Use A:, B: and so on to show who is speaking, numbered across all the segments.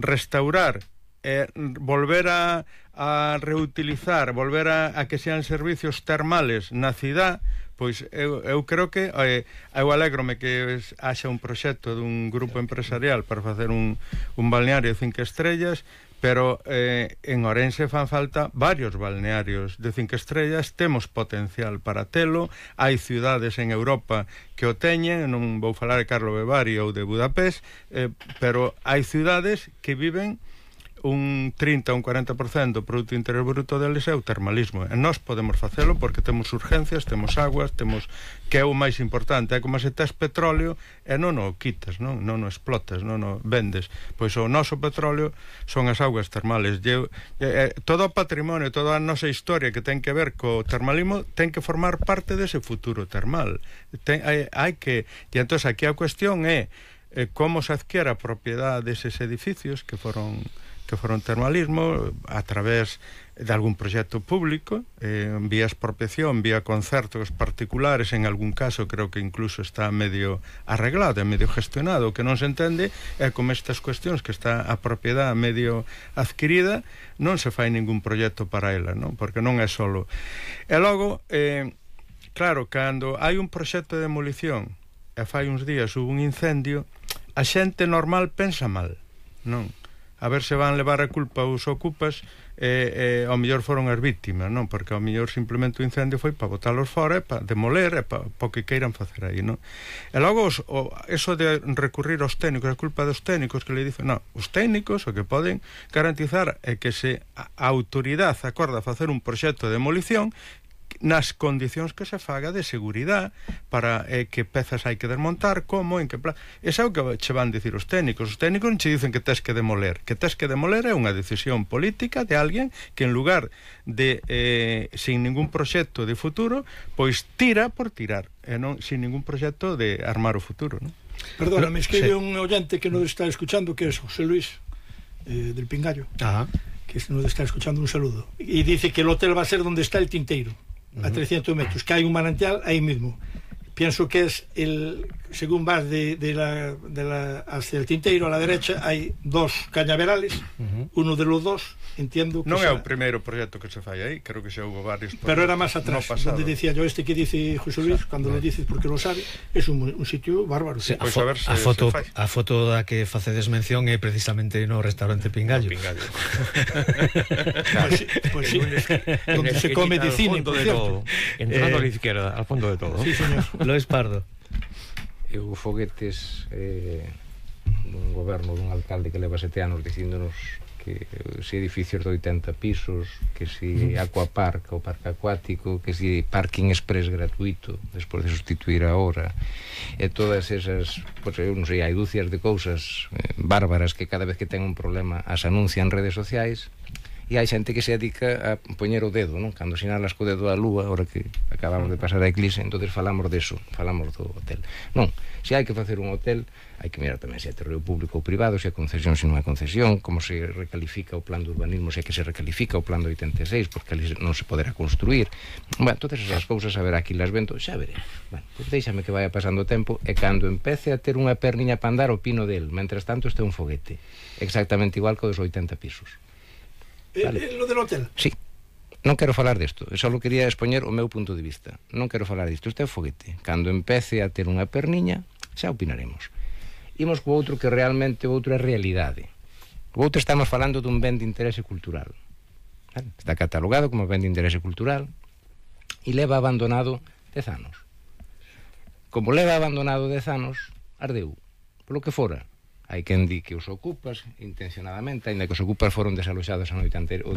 A: restaurar, volver a reutilizar, volver a que sean servicios termales na cidade, pois eu creo que eu alégrome que haxa un proxecto dun grupo empresarial para facer un balneario de 5 estrellas, pero en Ourense fan falta varios balnearios de 5 estrellas, temos potencial para telo, hai cidades en Europa que o teñen, non vou falar de Carlo Bevari ou de Budapest, pero hai cidades que viven un 30 ou un 40% do produto interior bruto deles é o termalismo, e nós podemos facelo porque temos urgencias, temos aguas, temos, que é o máis importante, é como se tes petróleo e non o quitas, non o explotas, non o vendes, pois o noso petróleo son as augas termales. Todo o patrimonio, toda a nosa historia que ten que ver co termalismo ten que formar parte dese futuro termal. Hai que, e entón aquí a cuestión é como se adquiere a propiedade deses edificios que foron termalismo a través de algún proxecto público, vía expropiación, vía concertos particulares, en algún caso creo que incluso está medio arreglado, medio gestionado. O que non se entende é como estas cuestións que está a propiedade medio adquirida, non se fai ningún proxecto para ela, non? Porque non é solo. E logo, claro, cando hai un proxecto de demolición e fai uns días hubo un incendio, a xente normal pensa mal, non? A ver se van levar a culpa os ocupas, ao mellor foron as víctimas, non? Porque ao mellor simplemente o incendio foi para botalos fora, para demoler, e para o que queiran facer aí, non? E logo eso de recurrir aos técnicos, a culpa dos técnicos, que le dicen, non, os técnicos o que poden garantizar é que se a autoridade acorda a facer un proxecto de demolición nas condicións que se faga de seguridade para que pezas hai que desmontar, como, en que plan. Esa é o que che van dicir os técnicos. Os técnicos non che dicen que tes que demoler. Que tes que demoler é unha decisión política de alguén que en lugar de sin ningún proxecto de futuro, pois tira por tirar, e non sin ningún proxecto de armar o futuro, non?
B: Perdona, me escribe un oyente que nos está escuchando, que es José Luis del Pingallo. Ajá. Que nos está escuchando, un saludo. Y dice que el hotel va a ser donde está el Tinteiro, a 300 metros, que hay un manantial ahí mismo. Pienso que es según vas hacia el Tinteiro, a la derecha hay dos cañaverales, uno de los dos, entiendo que
A: non é o primeiro proxecto que se fai aí, creo que xa houve varios,
B: pero era máis atrás, donde decía yo, que dice José Luis, cando le dices porque lo sabe, es un sitio bárbaro.
C: Sí, a foto da que facedes mención é precisamente no restaurante Pingallo.
B: Pues sí, donde se come de cine, por cierto,
D: entrando a la izquierda, al fondo de todo.
B: Sí, señor.
C: Lois Pardo.
D: Eu foguetes dun goberno dun alcalde que leva 7 anos dicíndonos que si edificios de 80 pisos, que si aquapark ou parque acuático, que si parking express gratuito despois de sustituir a hora, e todas esas, pois eu non sei, hai dúcias de cousas bárbaras que cada vez que ten un problema as anuncian en redes sociais. E hai xente que se dedica a poñer o dedo, non? Cando sinalas co dedo a lúa, ahora que acabamos de pasar a eclipse, entonces falamos deso, falamos do hotel. Non, se hai que facer un hotel, hai que mirar tamén se é terreo público ou privado, se é concesión, se non é concesión, como se recalifica o plan de urbanismo, se é que se recalifica o plan de 86, porque ali non se poderá construir. Bueno, todas esas cousas, a ver, aquí las vento, xa veré. Bueno, pues déixame que vaya pasando o tempo, e cando empece a ter unha perniña para andar, opino del. Mentras tanto, este é un foguete, exactamente igual que o dos 80 pisos.
B: Vale. Lo del hotel?
D: Sí, non quero falar desto, só quería expoñer o meu punto de vista. Non quero falar disto, este é o foguete. Cando empece a ter unha perniña, xa opinaremos. Imos co outro, que realmente o outro é realidade. O outro estamos falando dun ben de interese cultural. Está catalogado como ben de interese cultural e leva abandonado 10 anos. Como leva abandonado 10 anos, ardeu, polo que fora. Hai quen di que os ocupas intencionadamente, ainda que os ocupas foron desaloxados o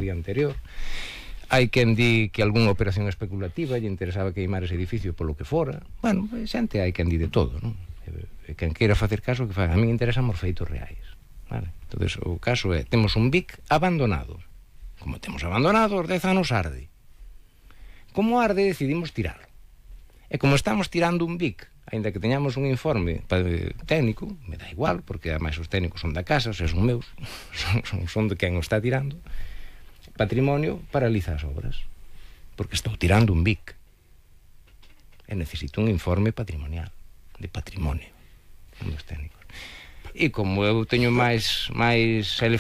D: día anterior. Hai quen di que algunha operación especulativa lle interesaba queimar ese edificio polo que fora. Bueno, xente hai quen di de todo, non? E quen queira facer caso, que faga. A min interesan os feitos reais, vale? Entonces, o caso é, temos un BIC abandonado. Como temos abandonado, os 10 anos arde. Como arde, decidimos tiralo. E como estamos tirando un BIC, ainda que teñamos un informe técnico, me dá igual, porque ademais os técnicos son da casa, son meus, son de quen o está tirando, Patrimonio paraliza as obras, porque estou tirando un BIC e necesito un informe patrimonial, de patrimonio, dos técnicos. E como eu teño máis